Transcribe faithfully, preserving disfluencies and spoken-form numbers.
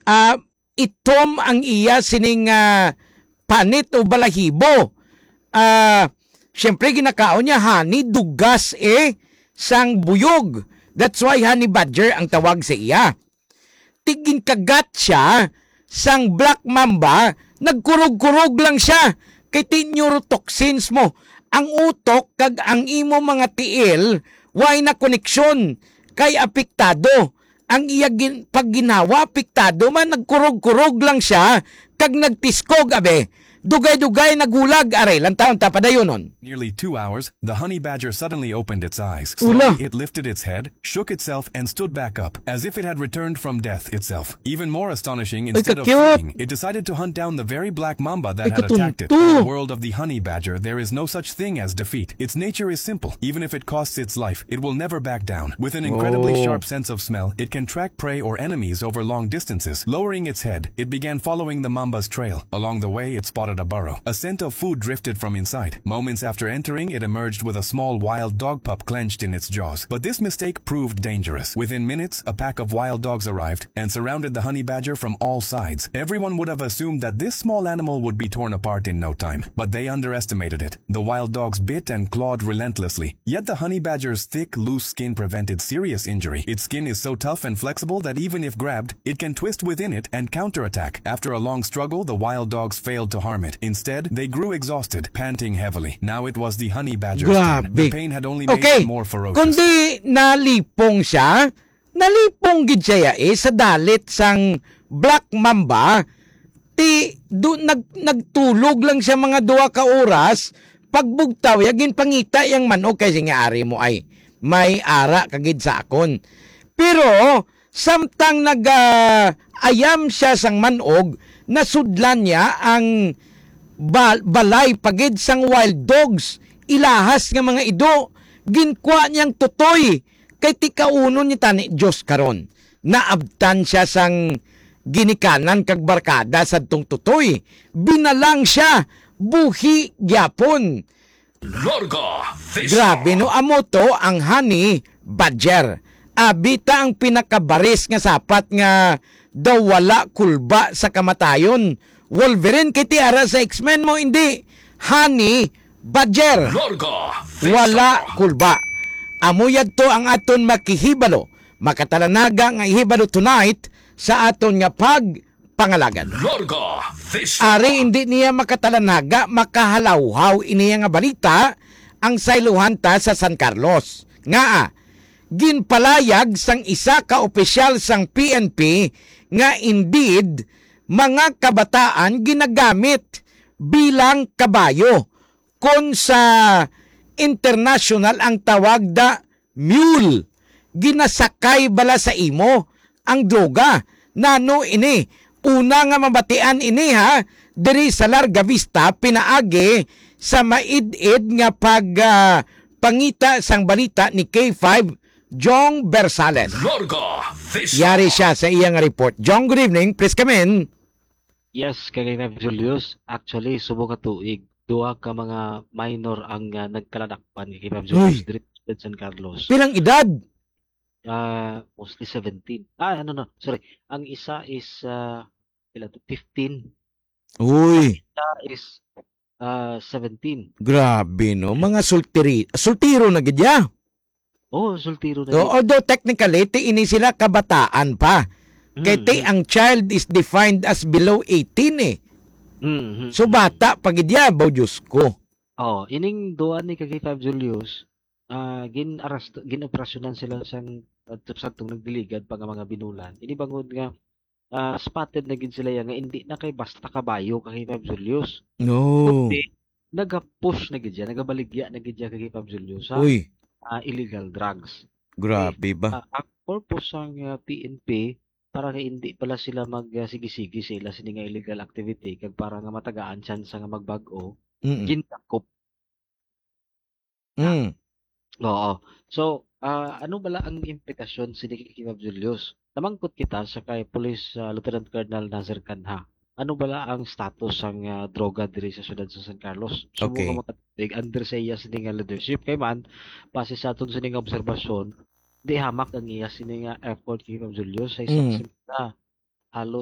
ah, itom ang iya sining, ah, panit o balahibo. Ah, siyempre, ginakaon niya honey, dugas, eh, sang buyog. That's why honey badger ang tawag sa iya. Ti ginkagat siya sang black mamba, nagkurog-kurog lang siya. Kay ti neurotoxins mo. Ang utok kag ang imo mga tiil, way na koneksyon, kay apektado. Ang iya gin-, pagginhawa apektado man, nagkurog-kurog lang siya, kag nagtiskog, abi. Dugay-dugay nagulag, aray, lantawon ta padayonon. Nearly two hours, the honey badger suddenly opened its eyes. Ula. Slowly, it lifted its head, shook itself, and stood back up, as if it had returned from death itself. Even more astonishing, Ay, instead of ka-cute. fleeing, it decided to hunt down the very black mamba that Ay, had attacked it. katunto. In the world of the honey badger, there is no such thing as defeat. Its nature is simple. Even if it costs its life, it will never back down. With an incredibly Oh. sharp sense of smell, it can track prey or enemies over long distances. Lowering its head, it began following the mamba's trail. Along the way, it spotted a burrow. A scent of food drifted from inside. Moments after entering, it emerged with a small wild dog pup clenched in its jaws. But this mistake proved dangerous. Within minutes, a pack of wild dogs arrived and surrounded the honey badger from all sides. Everyone would have assumed that this small animal would be torn apart in no time, but they underestimated it. The wild dogs bit and clawed relentlessly, yet the honey badger's thick, loose skin prevented serious injury. Its skin is so tough and flexible that even if grabbed, it can twist within it and counterattack. After a long struggle, the wild dogs failed to harm it. Instead, they grew exhausted, panting heavily. Now it was the honey badger's turn. Grabe. The pain had only made Okay. it more ferocious. Kundi nalipong siya, nalipong gid siya, eh, sa dalit sang Black Mamba, ti, du-, nag-, nagtulog lang siya mga duha ka oras, pagbugtaw ya, ginpangita yang manok kay siya nga, "Ari mo ay, may ara ka gid sa akon." Pero, samtang nag, ah, ayam siya sang manog, nasudlan niya ang ba-, balay pa gid sang wild dogs, ilahas nga mga ido, ginkwa niyang tutoy, kay ti kaunon niya tani Dios karon. Naabtan siya sang ginikanan kag barkada sadtong tutoy. Binalang siya, buhi gyapon. Larga Vista. Grabe, no? Amo to ang honey badger. Abi ta ang pinakabaris nga sapat nga daw wala kulba sa kamatayon. Wolverine, kay ti ara sa X-Men mo, hindi. Honey badger. Larga Vista. Wala kulba. Amo yadto ang aton makahibalo, makatalanaga nga ihibalo tonight sa aton nga pag pangalagad. Larga Vista. Ari, hindi niya makatalanaga, makahalawhaw iniya nga balita ang saylohan ta sa San Carlos. Ngaa, ginpalayag sang isa ka opisyal sang P N P nga indeed mga kabataan ginagamit bilang kabayo, kon sa international ang tawag da mule. Ginasakay bala sa imo ang droga. Nano ini? Una nga mabatian ini, ha, diri sa Larga Vista, pinaagi sa maid-id nga pag, ah, pangita sang balita ni K five Jong Bersales. Larga Vista. Yari siya sa iyang report. Jong, good evening. Please come in. Yes, kay Ma'am Julius, actually, subong nga tuig, duha ka mga minor ang, ah, nagkaladakpan kay Ma'am Julius Uy. Diri sa San Carlos. Pilang edad? Ah, mostly seventeen. Ah, ano, no, sorry. Ang isa is, ah, pila to? Fifteen. Uy. Isa is, ah, seventeen. Grabe, no? Mga sultiri-, sultiro na gid ya. Oh, sultiro na So, gid. Although technically, ti ini sila kabataan pa. Kay Mm, ti mm. ang child is defined as below eighteen, eh. Mm, mm, So, mm. bata pa gid ya, baw, Diyos ko. Oh, ining duha ni ka K five Julius, ah, gin-arrest-, gin-operasyonan sila sang, ah, sadtong nagdiligad pa nga mga binulan. Ini bangod nga, ah, spotted na gid sila ya nga hindi na kay basta kabayo ka K five Julius. No. Kundi, nagapush na gid siya, nagabaligya na gid siya ka K five Julius sa, Uy. ah, illegal drugs. Grabe Okay. ba? Ah, ang purpose sang, ah, P N P, para nga hindi pala sila mag, ah, sige-sige sa ila sini nga illegal activity, kag para nga matagaan chance nga magbag-o, Mm-mm. gindakop. Mm. Oo. So, ah, ano bala ang implikasyon sini kay Ma'am Julius? Namangkot kita sa kay Police, ah, Lieutenant Colonel Nazir Canha. Ano bala ang status sang, ah, droga diri sa siyudad sa San Carlos? Subo Okay. nga makatubig under sa iya sini nga leadership. Kay man, base sa aton sini nga obserbasyon, di hamak ang iya sini nga effort kay Ma'am Julius sa isa ka Mm. semana. Halos